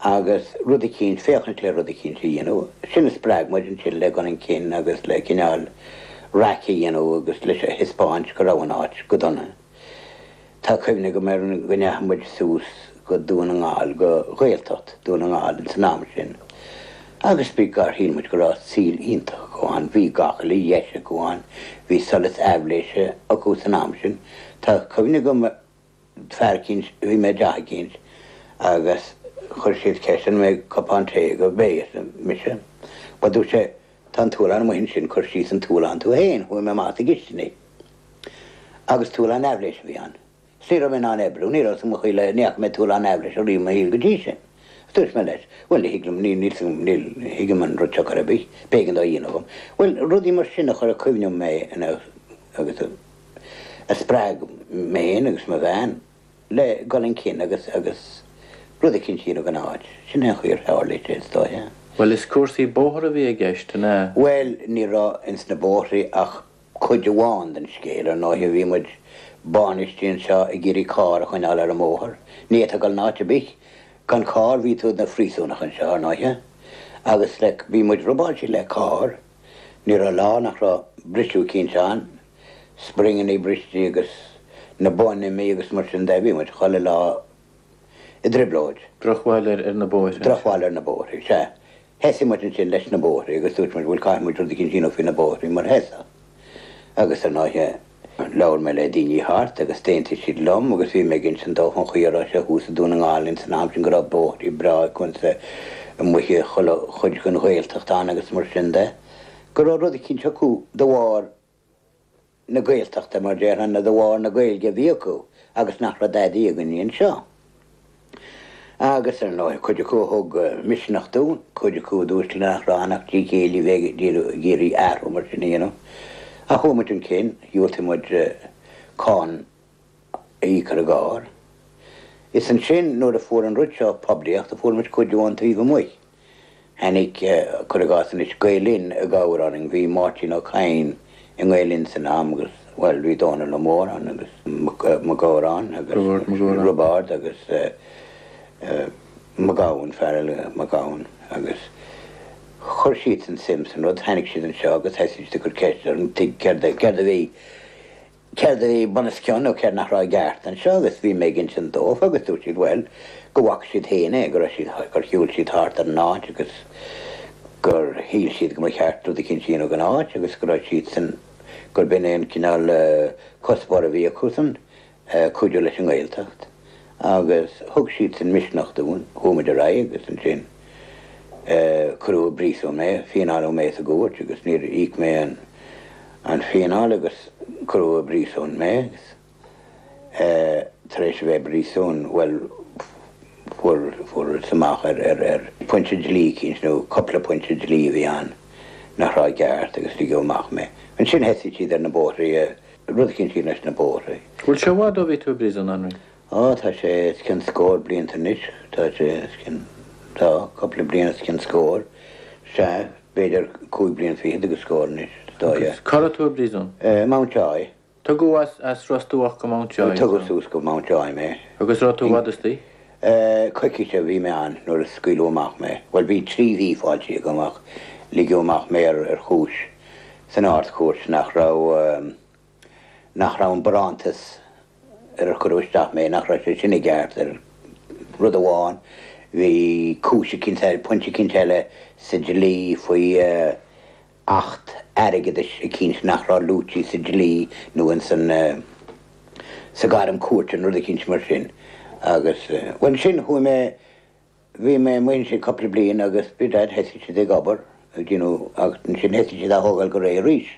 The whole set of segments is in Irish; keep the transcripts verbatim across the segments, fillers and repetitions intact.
agus rud eicínt féachaint le rud eicínt a dhéanamh, sin a spreag muid ansin le dul chun cinn agus le cineál raic a dhéanamh agus leis a thaispeáint go raibh an áit go dona. Tá cuimhne agam ar an go ndeachaigh muid suas go Dún na nGall go Gaeltacht Dún na nGall in san am sin. Agus bhí gar shíl muid go raibh saol iontach acu ann, bhí gach uile dheis acu ann, bhí solas aibhléise acu san am sin. Tá cuimhne agam fear eicínt bhí mé i dteach eicínt agus chuir siad ceist an mbeidh cupán tae go beidh mise. Ba dúirt sé tá an t-ualán amuigh ansin cuir síos an t-ualán tú féin, chuaigh mé amach sa gcistin. Agus t-ualán aibhléise a bhí ann. Ní raibh mé in ann oibriú, ní raibh mo chuile ní fhaca mé t-ualán aibhléise riamh i mo shaol go dtí sin. Dúirt mé leis, Well ní thuigim ní ní thuigim an rud seo ar bith, b'éigean dó a dhéanamh dom. Well rudaí mar sin a chur cuimhne mé agus a spreag mé agus mo bhean le dul chun cinn agus agus rud eicínt a dhéanamh don áit. Sin é an chaoi ar tharla sé is dóiche. Well is cúrsaí bóthar a bhí i gceist ná. Well ní raibh ins na bóithre ach cuid amháin den scéal ar ndóigh bhí muid báinistí anseo ag iarraidh carr a choinneáil ar an mbóthar. Ní tá gal náte bich gan carr bhí tú na phríosúnach anseo ar ndóigh agus le bhí muid robáilte le carr, ní raibh lá nach raibh briseadh eicínt ann, springanna briste agus na boinn imithe agus mar sin de bhí muid chuile lá i dtrioblóid. Drochbhail ar ar na bóithre. Drochbhail ar na bóithre sea. Thosaigh muid ansin leis na bóithre agus dúirt muid bhfuil caithfidh muid rud eicínt a dhéanamh faoi na bóithre mar heasa. Agus ar ndóigh labhair mé le daoine thart agus d'aontaigh siad liom agus bhí mé ag insint dóibh an chaoi a raibh sé thuas i Dún na nGall in san am sin go raibh bóithre breá acu amuigh chuile chuid den Ghaeltacht ann agus mar sin de, go raibh rud eicínt acu de bharr na Gaeltachta mar déarfainn de bharr na Gaeilge a bhí acu agus nach raibh dadaí againn anseo. Agus ar ndóigh cuid acu thug misneach dúinn, cuid acu dúirt nach raibh ann ach trí chéile bheith ag iarraidh athrú mar sin a dhéanamh. A chuaigh muid chun cinn, dhiúltaigh muid cáin a íoc ar an gcarr. Is ansin nuair a fuair an rud seo poiblíocht a fuair muid cuidiú ón taobh amuigh. Tháinig cuir i gcás anois Gael Linn i gcabhair orainn, bhí Máirtín Ó Cadhain i nGael Linn san am agus well bhí Dónal Ó Móráin agus Mac Gabhráin agus Roibeárd agus Mac Gabhann fear eile Mac Gabhann agus chuir siad san suim san rud, tháinig siad anseo agus thosaigh siad ag cur ceist orm céard céard a bhí céard a bhí bunoscionn nó céard nach raibh i gceart anseo agus bhí mé ag insint dóibh agus dúirt siad well go bhfaca siad féin é go raibh siad gur shiúil siad thart ar an áit agus gur shíl siad go mba cheart rud eicínt a dhéanamh don áit agus go raibh siad san gur b'in é an cineál cuspóir a bhí acu san cuidiú leis an nGaeltacht. Agus thug siad san misneach dúinn, chuaigh muid ar aghaidh agus ansin cuireadh i bpríosún mé, fíneáladh mé sa gcúirt agus níor íoc mé an an fíneáil agus cuireadh i bpríosún mé agus tar éis a bheith i bpríosún well fuair fuair amach ar ar ar pointe dlí eicínt nó cúpla pointe dlí a bhí ann nach raibh ceart agus ligeadh amach mé. Ansin thosaigh siad ar na bóithre rud eicínt leis na bóithre. Bhfuil sé i bhfad ó bhí tú i bpríosún Anraí? Ó tá sé os cionn scór blianta anois, tá sé os cionn tá cúpla bliain os cionn scór sea b'fhéidir cúig bliain fichead agus scór anois dóigh. Cá raibh tú i bpríosún? Mountjoy. Tugadh as as Ros Dumhach go Mountjoy. Tugadh suas go Mountjoy mé. Agus raibh tú i bhfad istigh? Coicís a bhí mé ann nuair a scaoileadh amach mé. Well bhí trí mhí fáilte agam ach ligeadh amach mé ar ar chúis san Ard-Chúirt nach raibh nach raibh an barántas ar ar cuireadh isteach mé nach raibh sé sin i gceart ar rud amháin, bhí cúis eicínt eile, pointe eicínt eile sa dlí faoi acht airgeadais eicínt nach raibh luaite sa dlí nó in san sa gairm cúirte nó rud eicínt mar sin. Agus well sin chuaigh mé bhí mé amuigh ansin cúpla bliain agus bhí dad thosaigh siad ag obair you know agus ansin thosaigh siad á thógáil go réidh arís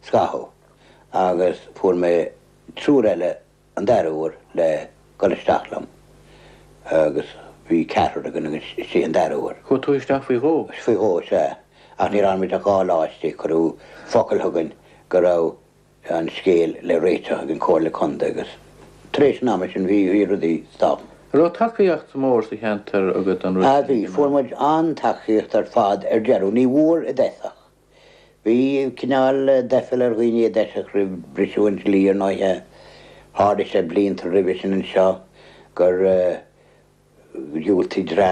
scaitheamh agus fuair mé triúr eile an dara huair le dul isteach liom agus bhí ceathrar againn agus istigh an dara huair. Chuaigh tú isteach faoi dhó? Faoi dhó sea, ach ní raibh muid ach dhá lá istigh, cuireadh focal chugainn go raibh an scéal le réiteach ag an Comhairle Contae agus tar éis an ama sin bhí bhí rudaí stop. An raibh tacaíocht mhór sa cheantar agat an rud A bhí, fuair muid an-tacaíocht ar fad ar deireadh, ní bhfuair i dtosach. Bhí cineál doicheall ar dhaoine i dtosach roimh briseadh an dlí ar ndóighe. Tharla sé blianta roimhe sin anseo gur dhiúltaigh dream